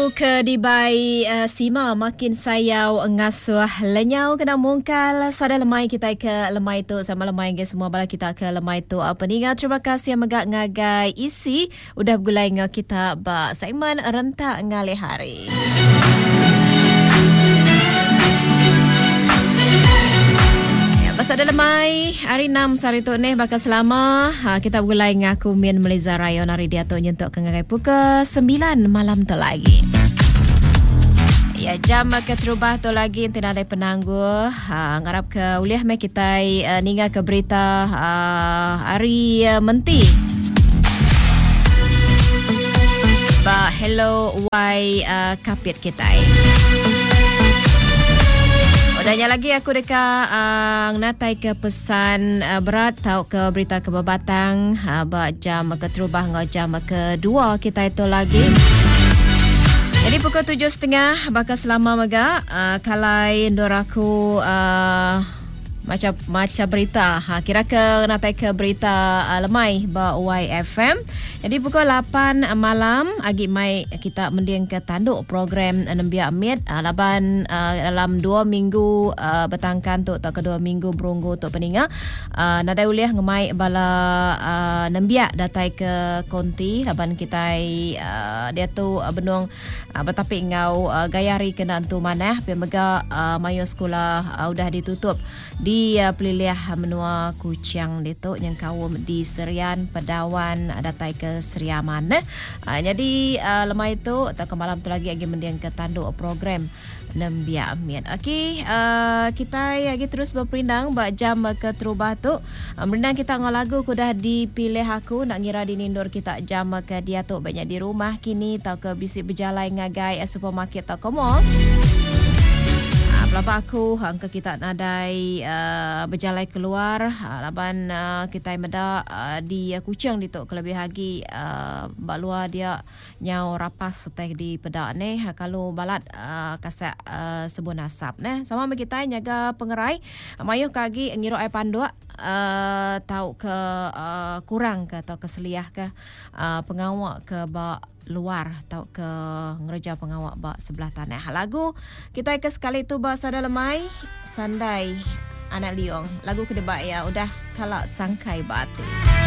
Lagu ke dibai uh, Sima makin sayau ngasuh lenyau kena mungkal sada lemai kita ke lemai tu sama lemai ke semua bala kita ke lemai tu uh, peninga terima kasih mega ngagai isi udah begulai enggau kita ba segmen rentak ngalih hari. Pasal dalam lemai hari 6 sehari tu ni bakal selama ha, kita begulai ngaku Min Meliza Rayon hari dia tu nyentuk ke ngagai pukul 9 malam tu lagi. Ya jam ke terubah tu lagi enti nadai penanggul ha, ngarap ke ulih meh kitai uh, ninga ke berita uh, hari uh, menti. Ba Hello Y uh, Kapit kitai. Udah nya lagi aku deka uh, ngenatai ke pesan uh, berat tau ke berita ke bebatang uh, ba jam keterubah enggau jam kedua kitai tu lagi. Jadi pukul 7.30 baka selama mega uh, kalai endur aku uh, Macha macha berita. Ha kira ke natai ke berita uh, lemai ba YFM. Jadi pukul 8 malam agi mai kita mending ke tanduk program nembiak mit uh, laban uh, dalam 2 minggu uh, betangkan tu atau ke 2 minggu berunggu tu peninga uh, nadai ulih ngemai bala uh, nembiak datai ke konti laban kitai uh, diatu uh, benung Betapi enggau gaya hari ke enda entu manah pia mega mayuh sekula udah ditutup di pelilih menua Kuching ditu nyengkaum di Serian, Pedawan datai ke Sri Aman. Nyadi lemai tu tauka malam tu lagi agi mendingka tandu program Nembiak mit. Okey, kitai agi terus beperindang ba jam keterubah tu. Merindang kita enggau lagu ke udah dipilih aku enda ngira dini endur kita jam ke diatu ba nya di rumah kini tauka bisi bejalai ngagai supermarket tauka mall. Pelaba aku engka kita nadai bejalai keluar laban kitai meda di Kuching ditu kelebih agi ba luar dia Nyau rapas utai dipeda neh kalu balat kasak sebun asap neh. Sama meh kitai nyaga pengerai mayuh ke agi ngirup ai panduk tauka kurang ke tauka seliah ke pengawa ke ba luar tauka ngereja pengawa ba sebelah tanah. Lagu kitai ke sekali tu ba sada lemai Sandai Anak Liong. Lagu ke deba iya udah kala sangkai ba ati.